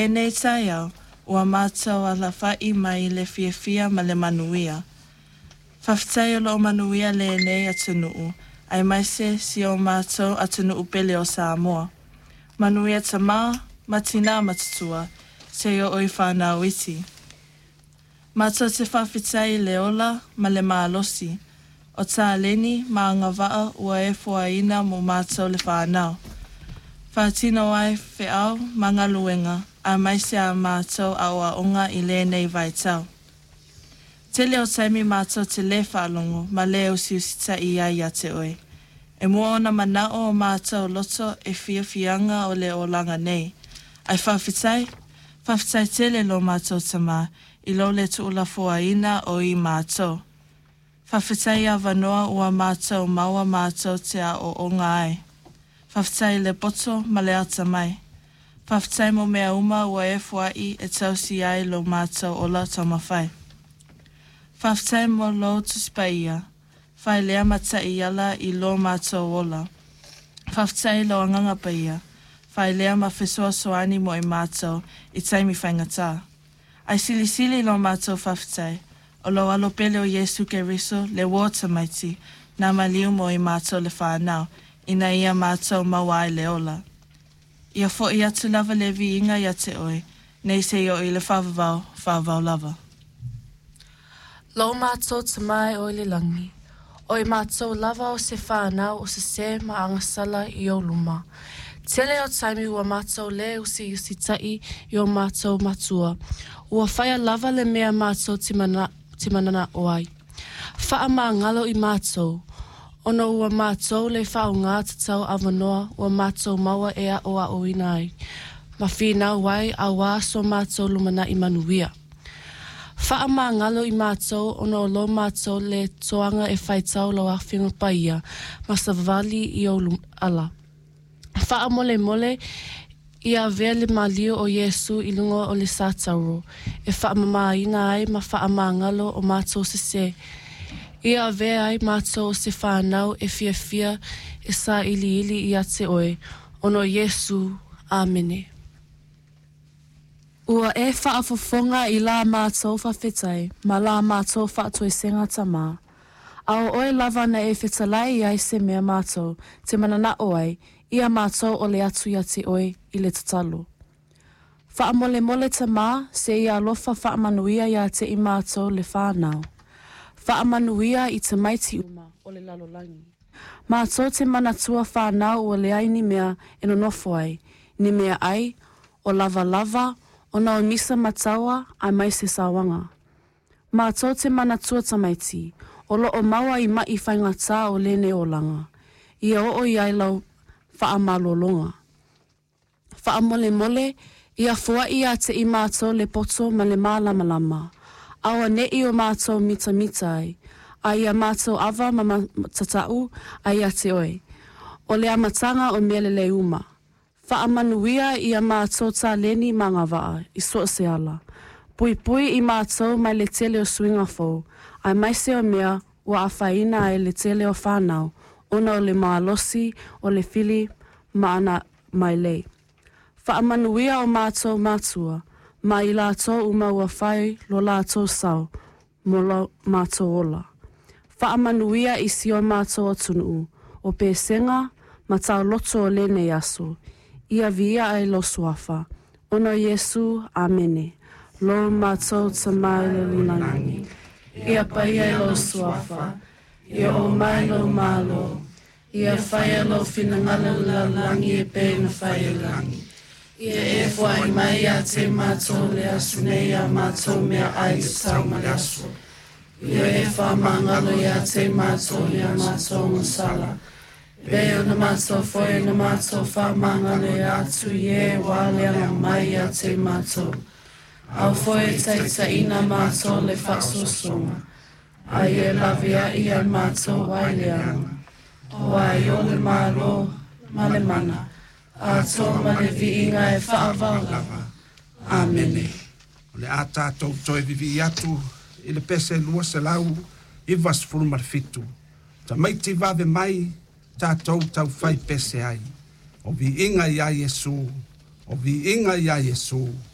Lenei taeao, ua mātou alafaʻi mai i le fiafia ma le manuia. Faafetai o loo manuia lenei atunuu aemaise si o matou atunuu pele o Samoa. Manuia tama ma tinā matutua, seia oo i fanau iti. Matou te faafetai i le ola ma le malosi o taleni ma agavaa ua e foaina mo matou le fanau. Faatino ai feau ma galuega aemaise a matou aoaoga i lenei vaitau. Tele o taimi matou te lē faalogo ma lē usiusitaʻi ai ia te oe. E mua ona manao o matou loto e fiafiaga o le olaga nei. Ae faafetai, faafetai tele lo matou Tamā i lou le tuulafoaiina o i matou. Faafetai i avanoa ua matou maua matou te aooga ai. Faafetai i le poto ma le atamai. Faafetai mo mea uma ua e foai e tausi ai lo matou ola taumafai. Faafetai mo lou Tusi Paia, fai lea ma taiala i lo matou ola. Faafetai i lou Agaga Paia, fai lea ma fesoasoani mo i matou i taimi faigata. Ae silisili lo matou faafetai, o lou Alo pele o Iesu Keriso, le uo tamaiti, na maliu mo i matou le fanau, ina ia matou maua ai le ola. Ia foʻi atu lava le viiga ia te oe, nei seia oo i le faavavau, faavavau lava. Lo mātou Tamā e o i le lagi, o i mātou lava o se whānau o se ma agasala i o luma. Tele o taimi ua mātou lē usiusitaʻi i o mātou matua. Ua faia lava le mea mātou te, mana, te mananaʻo ai. Faamagalo i mātou, ona ua mātou lē faaaogā tatau avanoa ua mātou maua e aʻoaʻoina ai. Ma finau ai auā so mātou lumanaʻi manuia. Faamagalo i mātou ona o lo mātou lē toaga e faitau lau Afioga Paia ma savali i ou ala. Faamolemole ia avea le maliu o Iesu i luga o le satauro e faamamaina ai ma faamagalo o mātou sesē. Ia avea ai mātou o se whānau e fiafia e sailiili ia te oe, ona o Iesu. Amene. Ua e faafofoga i la mātou faafetai ma la mātou faatoesega Tamā. A o oe lava na e fetalai i ai se mea mātou te mananaʻo ai, ia mātou ʻole atu ia te oe i le tatalo. Faamolemole Tamā, se i alofa faamanuia ia te i mātou le whānau. Faamanuia i tamaiti uma o le lalolagi. Mātou te manatua whānau ua leai ni mea e nonofo ai, ni mea ai, o lava lava, ona o misa mataua aemaise sauaga. Mātou te manatua tamaiti, o loo maua i maʻi faigata o lenei olaga. Ia oo i ai lau faamalologa. Faamolemole, ia foai ia te i mātou le poto ma le mālamalama. Auaneʻi o mātou mitamita ai, a ia mātou ava ma matatau ai ia te oe. O le amataga o mea lelei uma. Faamanuia ia mātou taleni ma agavaa i so o se ala. Puipui i mātou mai le tele o suiga fou, aemaise o mea ua afaina ai le tele o whānau, ona o le malosi o le fili ma ana mailei. Faamanuia o mātou matua, ma i latou uma ua fai lo latou sao, mo lo mātou ola. Faamanuia i si o mātou atunuu, o Pesega ma tauloto o lenei aso, ia viia ai lou suafa. Ona o Iesu, amene. Lo mātou Tamā i le lagi. Ia paia i lou suafa. Ia oo mai lou Malo. Ia faia lou finagalo i le lalolagi e pei ona fai i le lagi. Ia e foai mai ia te mātou le aso nei a mātou meaai tatau ma le aso. Ia e faamagalo ia te mātou i a mātou agasala. E pei ona mātou foi ona mātou faamagalo ia atu i e ua aleaga mai ia te mātou. Aua foi e taitaiina mātou i le faasoasoga, a ia e laveai ia i mātou mai le leaga. Auā i ou le Malo, ma le mana, atoa ma le viiga e faavavau lava. Amene. O le a tatou toe vivii atu i le pese 297. Tamaiti vave mai tatou taufai pese ai. O viiga ia Iesu, o viiga ia Iesu.